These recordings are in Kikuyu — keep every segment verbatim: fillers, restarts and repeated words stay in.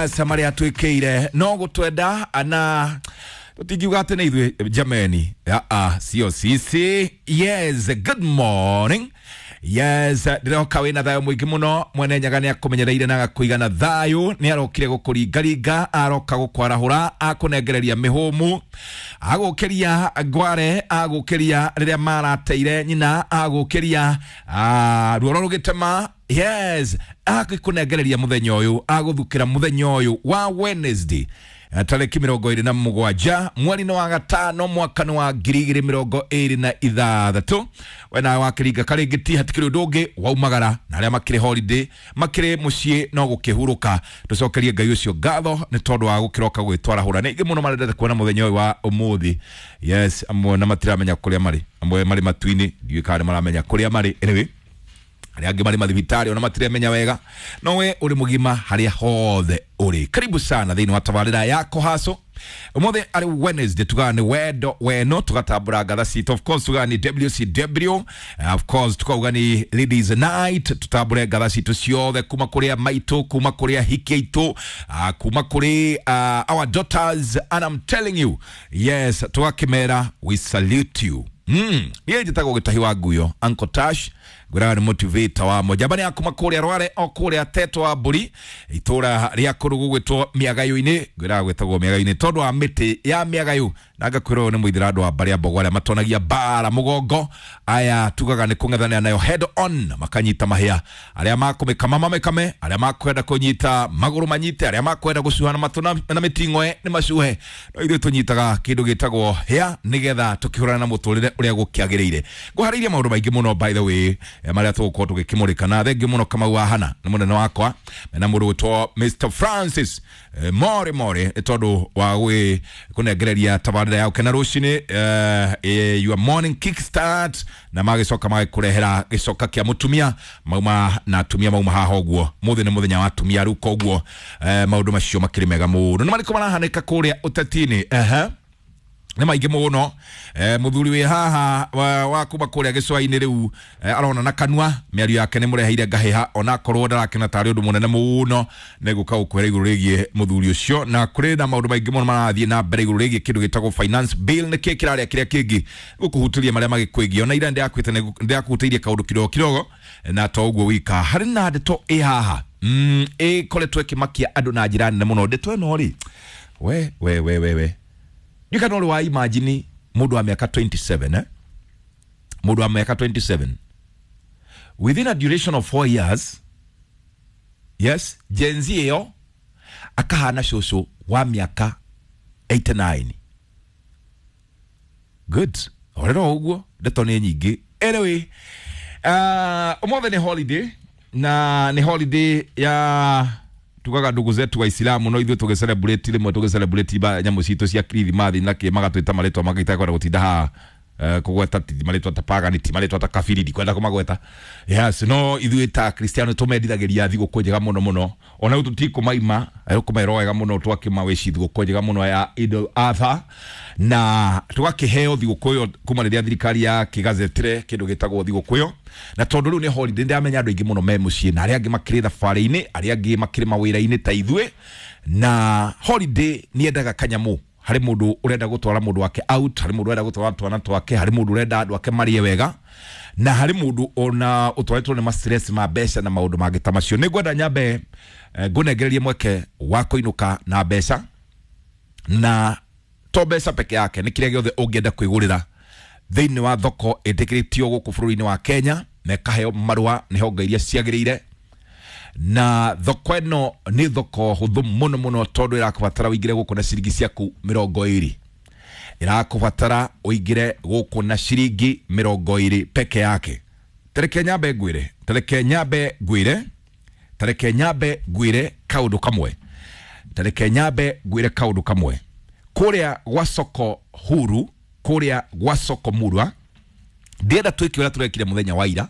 Yes, marĩa twĩkĩire no gũtwenda na tũtingiuga atĩ nĩ ithuĩ jameni. Aa, sio sisi. Yes, good morning. Yes, ndĩroka wĩna thayũ mũingĩ mũno. Mwene Nyaga nĩ akũmenyereire na agakũigana thayũ. Nĩ arokire gũkũringaringa, aroka gũkwarahũra, akũnengereria mĩhũmũ, agũkĩria ngware, agũkĩria rĩrĩa marateire nyina, agũkĩria ah, ruoro rũgĩtema. Yes, agĩkũnengereria mũthenya ũyũ, agũthukĩra mũthenya ũyũ wa Wednesday tarĩki mĩrongo ĩrĩ na mũgwanja mweri-inĩ wa gatano mwaka-inĩ wa ngiri igĩrĩ mĩrongo ĩrĩ na ithathatũ. We nawe wakĩringa karĩngĩ ti hatikĩrĩ ũndũ ũngĩ waumagara, na arĩa makĩrĩ holiday makĩrĩ mũciĩ no gũkĩhurũka. Tũcokerie Ngai ũcio ngatho nĩ tondũ wa gũkĩroka gwĩtwarahũra. Nĩ aingĩ mũno marendete kuona mũthenya ũyũ wa ũmũthĩ. Yes, amwe na matiramenya kũrĩa marĩ, amwe marĩ matu-inĩ, ndiũĩ kana nĩ maramenya kũrĩa marĩ. Anyway, arĩa angĩ marĩ mathibitarĩ ona matiremenya wega, no we ũrĩ mũgima harĩa hothe ũrĩ. Karibu sana thĩinĩ wa tabarĩra ya Kũhaco. Ũmũthĩ arĩ Wednesday, tugaga nĩ wendo weno, tugatambũra ngatha citũ. Of course tugaga nĩ W C W, of course tukauga nĩ Ladies Night. Tutambũre ngatha citũ ciothe kuma kũrĩa maitũ, kuma kũrĩa hiki aitũ, uh, kuma kũrĩ uh, our daughters, and I'm telling you, yes, tugakĩmera we salute you. Mm. Niĩ njĩtagwo Gĩtahi wa Nguyo, Uncle Tash, ngwĩraga nĩ motivator wa mojamba nĩ akuma kũrĩa Rware o kũrĩa Teto wa Mbũri, itũra rĩa kũrũ gũgwĩtwo Mĩagayũ-inĩ. Ngwĩraga gwĩtagwo Mĩagayũ-inĩ tondũ wa mĩtĩ ya mĩagayũ, na ngakwĩra ũyũ nĩ mũithĩra andũ a mbarĩ ya Mbogo arĩa matonagia mbara mũgongo. Aya tugaga nĩ kũng'ethanĩra nayo head on, makanyita mahĩa, arĩa makũmĩkama mamĩkame, arĩa makwenda kũnyita magũrũ manyite, arĩa makwenda gũcuha na matũ na, na mĩting'oe nĩ macuhe, no ithuĩ tũnyitaga kĩndũ gĩtagwo hĩa nĩgetha tũkĩhũrana na mũtũrĩre ũrĩa gũkĩagĩrĩire. Ngũharĩirie maũndũ maingĩ mũno, by the way, eh, marĩa tũgũkorwo tũgĩkĩmũrĩka, na thengiũ mũno Kamau wa Hana nĩ mũnene wakwa mena mũndũ gwĩtwo Mister Francis eh, More More, nĩ tondũ wa gwĩ kũnengereria tabarĩra ya gũkena rũcinĩ, eh, eh, your morning kick start, na magĩcoka magĩkũrehera gĩcoka kĩa mũtumia mauma na atumia mauma haha ũguo. Mũthĩ nĩ mũthenya wa atumia rĩu, koguo eh, maũndũ macio makĩrĩ mega mũno. Nĩ marĩkũ marahanĩka kũrĩa ũteti-inĩ? Ehe, nĩ maingĩ mũno. eh, mũthuri wĩ haha wa, wa kuma kũrĩa gĩcũa-inĩ rĩu eh, arona na kanua mĩario yake nĩ mũreheire ngahĩha, onakorwo ndarakena tarĩ ũndũ mũnene mũno. Nĩ gũka gũkwĩra igũrũ rĩgiĩ mũthuri ũcio, na kũrĩ na maũndũ maingĩ mũno marathiĩ na mbere igũrũ rĩgiĩ kĩndũ gĩtagwo finance bill. Nĩ kĩ kĩrarĩa kĩrĩa kĩngĩ gũkũhutĩria marĩa magĩkwĩgiĩ? Ona ira ndĩrakwĩte ndĩrakũhutĩirie kaũndũ kidogo kidogo, na to ũguo wika harĩ na ndeto ĩ haha mm, ĩkoretwo ĩkĩmakia andũ na njĩra nene mũno. Ndeto ĩno rĩ, we we we we we ndikana ũrĩ wa imagine mũndũ wa mĩaka mĩrongo ĩrĩ na mũgwanja, eh? Mũndũ wa mĩaka mĩrongo ĩrĩ na mũgwanja within a duration of four years, yes, Gen Z ĩyo akahana cũcũ wa mĩaka mĩrongo ĩnana na kenda. Good, orero ũguo ndeto nĩ nyingĩ. Anyway, uh, ũmũthĩ nĩ holiday, na nĩ holiday ya tugaga ndugu zetu Waislamu, no ithuĩ tũgĩ celebrate rĩmwe, tũgĩ celebrate ba nyamũ citũ cia Kirithimathi na kĩ, magatwĩta marĩtwa mangĩ kwenda gũtinda haha eh, kũgweta, ti marĩtwa ta pagani, ti marĩtwa ta kabiri, ndikwenda kũmagweta. Yes, no ithuĩ ta Kristiano tũmendithagĩria thigũkũ njega mũno mũno, ona rĩu tũtikũmaima kũmera wega mũno, twakĩmawici thigũkũ njega mũno ya Idul Adha, na tũgakĩheo thigũkũ ĩyo kuma rĩrĩa thirikari ya kĩgazetire kĩndũ gĩtagwo thigũkũ ĩyo. Na tondũ rĩu nĩ holiday, ndĩramenya andũ aingĩ mũno me mũciĩ, na arĩa angĩ makĩrĩ thabarĩ-inĩ, arĩa angĩ makĩrĩ mawĩra-inĩ ta ithuĩ, na holiday nĩ yendaga kanyamũ. Harĩ mũndũ ũrenda gũtwara mũndũ wake out, harĩ mũndũ ũrenda gũtwara twana twake, harĩ mũndũ ũrenda andũ ake marĩe wega, na harĩ mũndũ ona ũtwarĩtwo nĩ ma stress ma mbeca na maũndũ mangĩ ta macio. Nĩ ngwenda nyambe eh, ngũnengererie mweke wa kũinũka na mbeca, na to mbeca peke yake, nĩ kĩrĩa gĩothe ũngĩenda kwĩgũrĩra thĩinĩ wa thoko ĩtĩkĩrĩtio gũkũ bũrũri-inĩ wa Kenya na ĩkaheo marũa nĩ honge iria ciagĩrĩire. Na thoko ĩno nĩ thoko hũthũ mũno mũno, tondũ ĩrakũbatara ũingĩre gũkũ na ciringi ciaku mĩrongo ĩrĩ, ĩrakũbatara ũingĩre gũkũ na ciringi mĩrongo ĩrĩ peke yake. Tareke nyambe ngwĩre, tareke nyambe ngwĩre, tareke nyambe ngwĩre kaũndũ kamwe, tareke nyambe ngwĩre kaũndũ kamwe. Kũrĩa gwa soko huru, kũrĩa gwa soko murwa, ndĩrenda twĩke ũrĩa tũrekire mũthenya wa ira,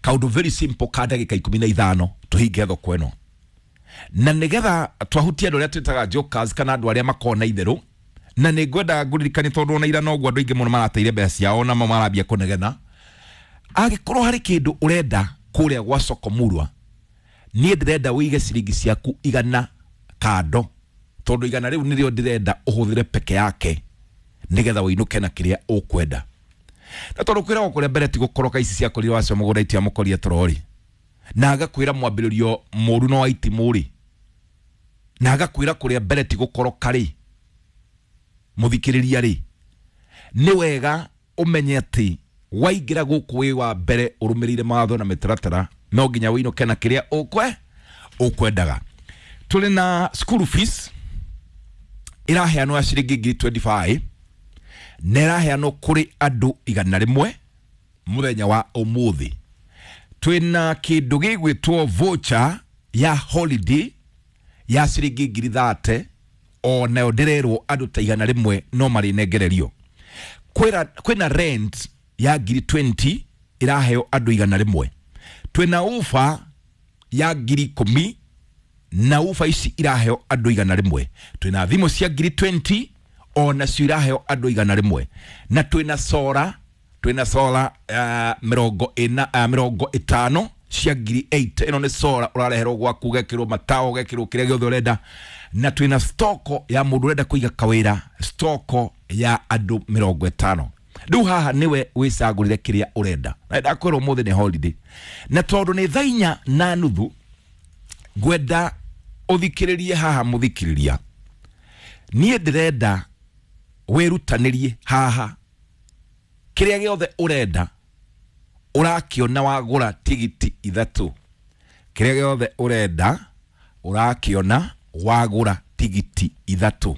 kaũndũ very simple ka ndagĩka ikũmi na ithano tũhinge thoko ĩno, na nĩgetha twahutia andũ arĩa twĩtaga jokers kana andũ arĩa makoragwo na itherũ. Na nĩ ngwenda ngũririkanie, tondũ ona ira noguo andũ aingĩ mũno marateire mbeca ciao na marambia kũnegena. Angĩkorwo harĩ kĩndũ ũrenda kũrĩa gwa soko murwa, niĩ ndĩrenda wĩige ciringi ciaku igana Kando tondu igana riu nirio ndirenda uhuthire peke yake nigetha winuke na kiria ukwenda. Na tondu kwiragwo kuria mbere ti gukoroka ici ciakorirwo acio mugunda itiamukoria torori, na agakwira mwambiririo muru no aitimuri, na agakwira kuria mbere ti gukoroka ri muthikiriria ri, ni wega umenye ati waingira guku wi wa mbere urumirire mawatho na mitaratara no nginya winuke na kiria ukwe ukwendaga. Tuli na school fees iraheanwo ya ciringi ngiri twenty-five na iraheanwo kuri andu igana rimwe muthenya wa umuthi. Twina kindu gigwitwo voucher ya holiday ya ciringi ngiri thate o nayo ndirerwo andu ta igana rimwe no marinengererio. Kwina kwina rent ya ngiri twenty iraheo andu igana rimwe. Twina ufa ya ngiri ikumi na ufa ici iraheo andu igana rimwe. Twina thimu cia ngiri twenty o nacio iraheo andu igana rimwe. Na twina sora, twina sora uh, mirongo ina uh, mirongo itano cia ngiri eight. Ino ni sora urareherwo gwaku ugekirwo matawa ugekirwo kiria giothe urenda. Na twina stoko ya mundu urenda kuiga kawira, stoko ya andu mirongo itano. Riu haha niwe wicagurire kiria urenda. Na ndakwirwo umuthi ni holiday, na tondu ni thaa inya na nuthu ngwenda uthikiririe haha muthikiriria, nie ndirenda wirutanirie haha kiria giothe urenda urakiona wagura tigiti ithatu. Kiria giothe urenda urakiona wagura tigiti ithatu,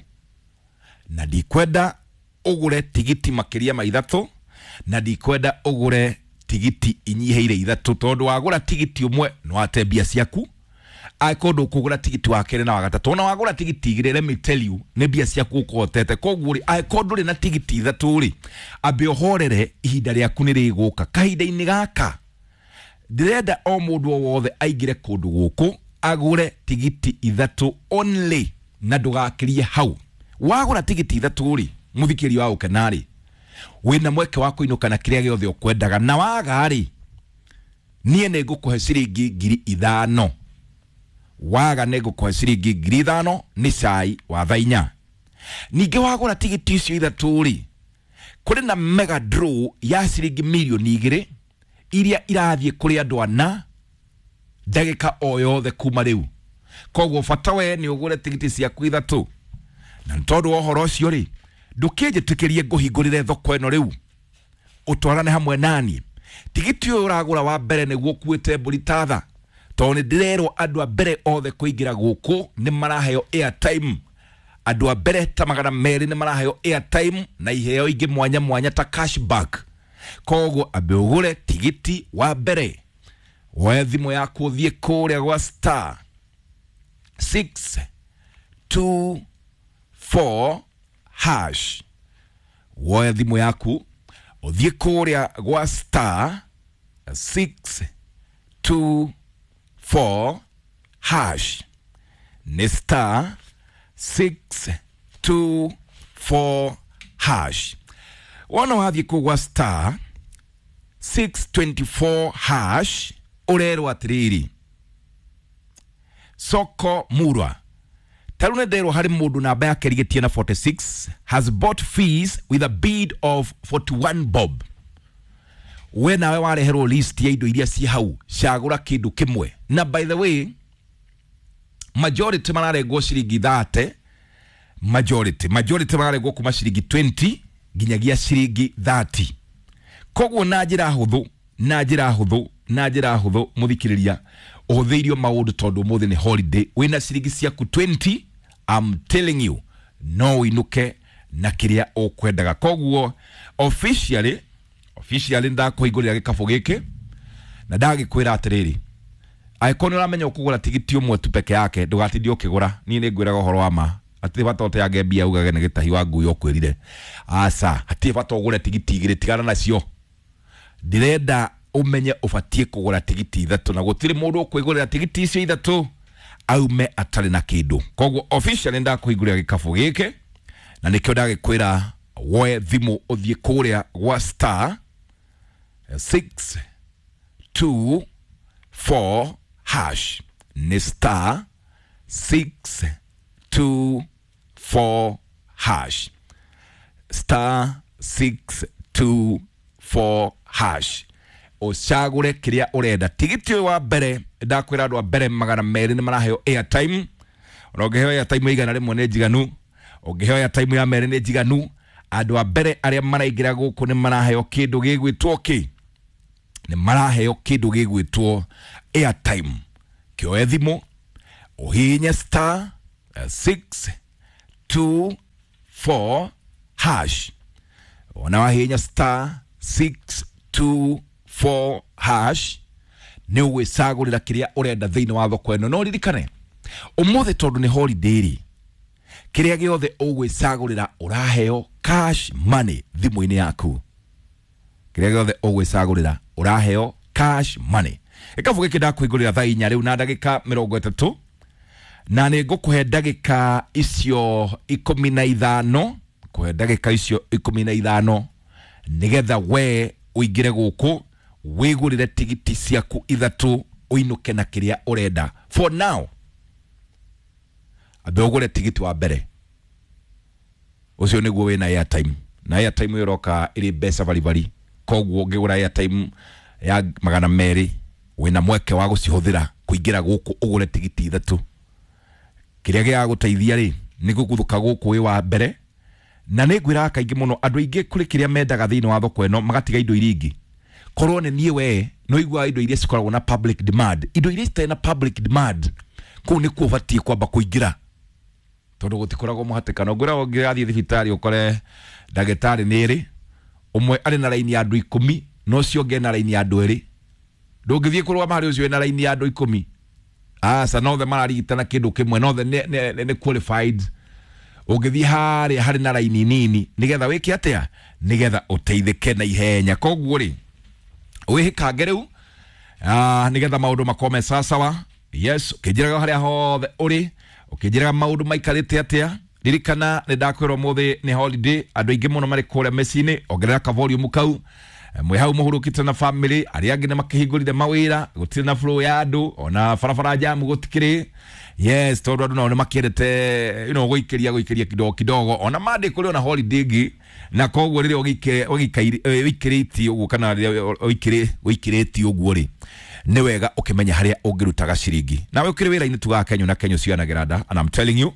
na ndikwenda ugure tigiti makiria ma ithatu, na ndikwenda ugure tigiti inyiheire ithatu, tondu wagura tigiti umwe no ate mbia ciaku. Akorwo ndukugura tigiti wa keri na wa gatatu, na wagura tigiti igiri, let me tell you, ni mbia ciaku ukohotete. Koguo ri akorwo nduri na tigiti ithatu ri, ambe uhorere ihinda riaku ni riguka. Kahinda-ini gaka ndirenda o mundu o wothe aingire kundu guku agure tigiti ithatu only, na ndugakirie hau. Wagura tigiti ithatu ri, muthikiri wa ukenari, wina mweke wa kuinuka na kiria giothe ukwendaga, na waga ri nie ni ngukuhe ciringi ngiri ithano. Waga nĩ ngũkũhe ciringi ngiri ithano nĩ cai wa thaa inya. Ningĩ wagũra tigiti icio ithatũ rĩ, kũrĩ na mega draw ya ciringi mirioni igĩrĩ iria irathiĩ kũrĩ andũ ana ndagĩka o yothe kuma rĩu. Koguo bata we nĩ ũgũre tigiti ciaku ithatũ. Na nĩ tondũ wa ũhoro ũcio rĩ, ndũkĩnjĩtĩkĩrie ngũhingũrĩre thoko ĩno rĩu ũtwarane hamwe nani. Tigiti ũyũ ũragũra wa mbere nĩguo ũkuĩte mbũri ta tha, tondũ nĩ ndĩrerwo andũ a mbere othe kũingĩra gũkũ nĩ maraheo airtime. Andũ a mbere ta magana merĩ nĩ maraheo airtime na iheo ingĩ mwanya mwanya ta cashback. Koguo ambe ũgũre tigiti wa mbere, woe thimũ yaku ũthiĩ kũrĩa gwa star six two four hash. Woe thimũ yaku ũthiĩ kũrĩa gwa star six two four hash. Ni star six two four hash. Wona wathiĩ kũu gwa star six twenty-four hash ũrerwo atĩrĩrĩ, soko murwa. Tarũ nĩ nderwo harĩ mũndũ namba yake ĩrigĩtie na forty-six has bought fees with a bid of forty-one bob. We nawe wareherwo list ya indo iria ci hau, cagũra kĩndũ kĩmwe. Na by the way, majority mararengwo ciringi thirty, majority majority mararengwo kuma ciringi twenty nginyagia ciringi thirty. Koguo na njĩra hũthũ, na njĩra hũthũ, na njĩra hũthũ mũthikĩrĩria, ũhũthĩirio maũndũ tondũ ũmũthĩ nĩ holiday. Wĩna ciringi ciaku twenty, I'm telling you, no ũinũke na kĩrĩa ũkwendaga. Koguo officially, officially ndakũhingũrĩra gĩkabũ gĩkĩ na ndagĩkwĩra atĩrĩrĩ, angĩkorwo nĩ ũramenya ũkũgũra tigiti ũmwe tu peke yake, ndũgatindie ũkĩgũra. Niĩ nĩ ngwĩraga ũhoro wa ma, hatirĩ bata ũteange mbia ugage nĩ gĩtahi wa ngui ũkwĩrire. Aca, hatirĩ bata ũgũre tigiti igĩrĩ, tigana nacio. Ndĩrenda ũmenye ũbatiĩ kũgũra tigiti ithatũ, na gũtirĩ mũndũ ũkwĩgũrĩra tigiti icio ithatũ aume atarĩ na kĩndũ. Koguo officially ndakũhingũrĩra gĩkabũ gĩkĩ, na nĩkĩo ndagĩkwĩra woe thimũ ũthiĩ kũrĩa gwa star six two four hash. Ni star six two four hash, star six two four hash, ucagure kiria urenda. Tigiti uyu wa mbere ndakwira andu a mbere magana meri ni maraheo airtime. Ona ũngĩheo airtime igana rĩmwe nĩ njiganu, ũngĩheo airtime ya merĩ nĩ njiganu. Andũ a mbere arĩa maraingĩra gũkũ nĩ maraheo kĩndũ gĩgwĩtwo kĩ, nĩ maraheo kĩndũ gĩgwĩtwo airtime. Kĩoe thimũ ũhihinye star six two four hash. Ona wahihinya star six two four hash nĩ ũgwĩcagũrĩra kĩrĩa ũrenda thĩinĩ wa thoko ĩno. No ririkane ũmũthĩ tondũ nĩ holiday rĩ, kĩrĩa gĩothe ũgwĩcagũrĩra ũraheo cash money thimũ-inĩ yaku. Kĩrĩa gĩothe ũgwĩcagũrĩra ũraheo cash money. Gĩkabu gĩkĩ ndakũhingũrĩra thaa inya rĩu na ndagĩka mĩrongo ĩtatũ, na nĩ ngũkũhe ndagĩka icio ikũmi na ithano, kũhe ndagĩka icio ikũmi na ithano nĩgetha we ũingĩre gũkũ wĩgũrĩre tigiti ciaku ithatũ ũinũke na kĩrĩa ũrenda. For now ambe ũgũre tigiti wa mbere, ũcio nĩguo wĩna airtime, na airtime ĩyo ĩroka ĩrĩ mbeca baribari. Koguo ũngĩgũra airtime ya magana merĩ wĩna mweke wa gũcihũthĩra kũingĩra gũkũ ũgũre tigiti ithatũ. Kĩrĩa gĩgagũteithia rĩ nĩ gũguthũka gũkũ wĩ wa mbere. Na nĩ ngwĩraga kaingĩ mũno andũ aingĩ kũrĩ kĩrĩa mendaga thĩinĩ wa thoko ĩno magatiga indo iria ingĩ. Korwo nĩ niĩ we no iguaga indo iria cikoragwo na public demand, indo iria citarĩ na public demand kũu nĩkuo ũbatiĩ kwamba kũingĩra, tondũ gũtikoragwo mũhatĩkano. Ngwĩraga ũngĩrathiĩ thibitarĩ ũkore ndagĩtarĩ nĩ ĩrĩ, ũmwe arĩ na raini ya andũ ikũmi na ũcio ũngĩ ena raini ya andũ erĩ. Ndũngĩthiĩ kũrũgama harĩ ũcio wĩna raini ya andũ ikũmi. Aca, nothe mararigitana kĩndũ kĩmwe, nothe nĩ, nĩ, nĩ qualified. Ũngĩthiĩ harĩa harĩ na raini nini nĩgetha wĩke atĩa, nĩgetha ũteithĩke na ihenya. Koguo rĩ wĩhĩkange rĩu ah, nĩgetha maũndũ makorwo me sawasawa. Yes, ũkĩnjĩraga harĩa hothe ũrĩ, ũkĩnjĩraga maũndũ maikarĩte atĩa. Ririkana nĩ ndakwĩra ũmũthĩ nĩ holiday, andũ aingĩ mũno marĩ kũrĩa mĩciĩ-inĩ. Ongerera ka volume kau, mwĩ hau mũhurũkĩte na family, arĩa angĩ nĩ makĩhingũrire mawĩra, gũtirĩ na flow ya andũ, ona barabara jamu gũtikĩrĩ. Yes, tondũ andũ nao nĩ makĩendete you know, gũikĩria gũikĩria kidogo kidogo, ona Monday kũrĩ ona holiday ĩngĩ. Na koguo rĩrĩa ũikĩrĩtie ũguo kana rĩrĩa ũikĩrĩtie ũguo rĩ, nĩ wega ũkĩmenya harĩa ũngĩrutaga ciringi. Nawe ũkĩrĩ wĩra-inĩ tugaga Kenya na Kenya ũcianagĩra nda, and I'm telling you.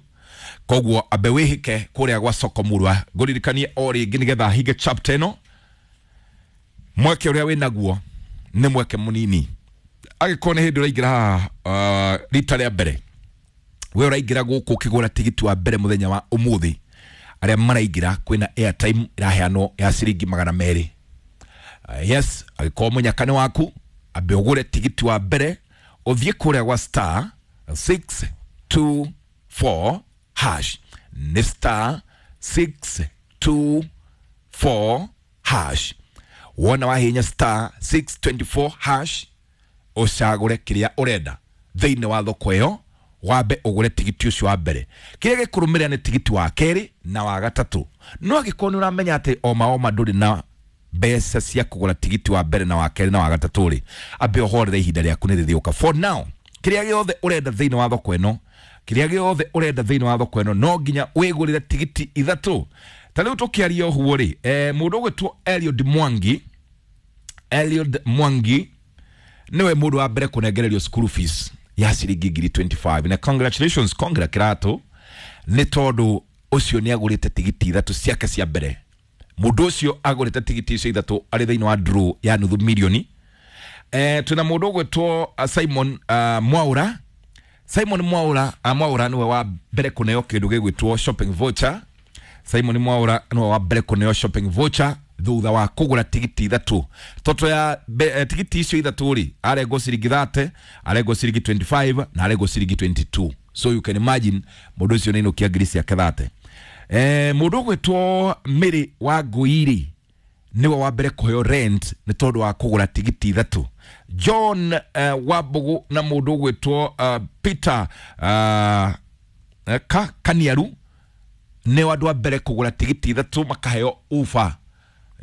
Koguo ambe wĩhĩke kũrĩa gwa soko murwa. Ngũririkanie o rĩngĩ nĩgetha hinge chapter ĩno, mweke ũrĩa wĩnaguo nĩ mweke mũnini. Angĩkorwo nĩ hĩndĩ ũraingĩra haha uh, rita rĩa mbere, we ũraingĩra gũkũ ũkĩgũra tigiti wa mbere mũthenya wa ũmũthĩ, arĩa maraingĩra kwĩna airtime ĩraheanwo ya ciringi magana merĩ. Uh, yes, angĩkorwo mũnyaka nĩ waku, ambe ũgũre tigiti wa mbere ũthiĩ kũrĩa gwa star six two four hash, nĩ star six two four hash. Wona wahinya star six two four hash ũcagũre kĩrĩa ũrenda thĩinĩ wa thoko ĩyo, wambe ũgũre tigiti ũcio wa mbere. Kĩrĩa gĩkũrũmĩrĩra nĩ tigiti wa kerĩ na wa gatatũ. No angĩkorwo nĩ ũramenya atĩ oma oma ndũrĩ na mbeca cia kũgũra tigiti wa mbere na wa kerĩ na wa gatatũ rĩ, ambe ũhorere ihinda rĩaku nĩ rĩrĩũka. For now, kĩrĩa gĩothe ũrenda thĩinĩ wa thoko ĩno, kĩrĩa gĩothe ũrenda thĩinĩ wa thoko ĩno no nginya wĩgũrĩre tigiti ithatũ. Ta rĩu tũkĩaria ũguo rĩ, eh, mũndũ ũgwĩtwo Eliud Mwangi, Eliud Mwangi niwe mũndũ wa mbere kũnengererio school fees ya ciringi ngiri twenty five. Na congratulations, congra kĩratũ, nĩ tondũ ũcio nĩ agũrĩte tigiti ithatũ ciake cia mbere. Mũndũ ũcio agũrĩte tigiti icio ithatũ arĩ thĩinĩ wa draw ya nuthu milioni. Eh, twĩna mũndũ ũgwĩtwo Simon uh, Mwaura. Simon Mwaura, uh, Mwaura niwe wa mbere kũneo kĩndũ gĩgwĩtwo shopping voucher. Simon Mwaura niwe wa mbere kũneo shopping voucher thutha wa kũgũra tigiti ithatũ. Toto ya be, eh, tigiti icio ithatũ rĩ, arengwo ciringi thirty, arengwo ciringi twenty five na arengwo ciringi twenty two. So you can imagine mũndũ ũcio nĩ ainũkia ngiri ciake thirty. Eh, mũndũ ũgwĩtwo Mary wa Ngũi niwe wa mbere kũheo rent nĩ tondũ wa kũgũra tigiti ithatũ. John uh, Wambugu na mũndũ ũgwĩtwo uh, Peter uh, ka, Kaniaru nĩ andũ a mbere kũgũra tigiti ithatũ makaheo ufa,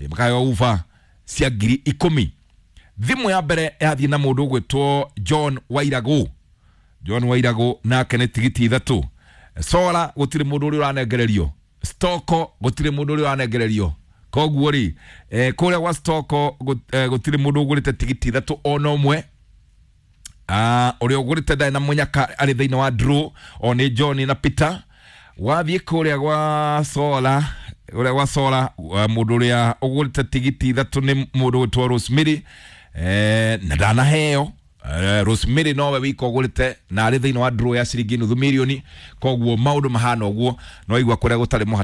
makaheo ufa cia ngiri ikũmi. Thimũ ya mbere yathiĩ na mũndũ ũgwĩtwo John Wairagũ. John Wairagũ nake nĩ tigiti ithatũ. Sola gutiri mundu uri uranengererio. Stoko gutiri mundu uri uranengererio. Koguo ri, eh, kuria gwa Stoko gutiri mundu ugurite tigiti ithatu ona umwe. Ah, uria ugurite ndari na munyaka ari thiini wa draw o ni John na Peter. Wathiĩ kũrĩa gwa Sola, ũrĩa gwa Sola, mũndũ ũrĩa ũgũrĩte tigiti ithatũ nĩ mũndũ gwĩtwo Rosemary, eh, na ndanaheo. Eh, Rosemary nowe wika ũgũrĩte na arĩ thĩinĩ wa draw ya ciringi nuthu mirioni. Koguo maũndũ mahana ũguo, no igua kũrĩa gũtarĩ mũhata.